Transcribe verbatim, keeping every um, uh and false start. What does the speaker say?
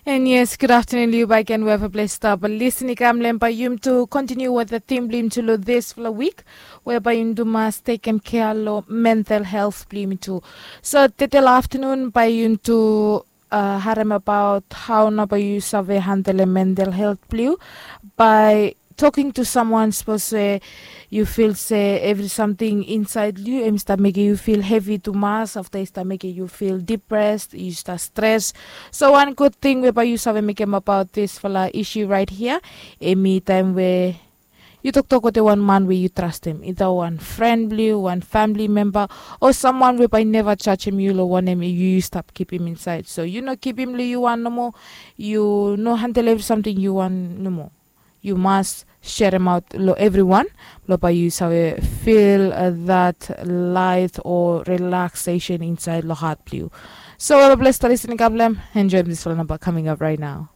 And yes, good afternoon, Liu Baiken, wherever place stop. Listen, ikam lem by yum to continue with the theme blim to lo this for a week, whereby yum to mas taken care lo mental health blim too. So today afternoon by yum to uh, harem about how naba you save handle mental health bliu by talking to someone suppose say you feel say every something inside you em start making you feel heavy too much after e start making you feel depressed, you start stress. So one good thing whereby you save make him about this fala issue right here, emi time where you toktok wetem wan man we you trust him, either wan friend bliu, wan family member, o someone we by never charge him you lo wanem you stop keep him inside. So you no keep him lo you wan nomo, you no handle every something you wan nomo. You must share him out lo everyone, lo by you save feel uh, that light or relaxation inside lo heart bliu. So all bless the listening, God bless. Enjoy this one about coming up right now.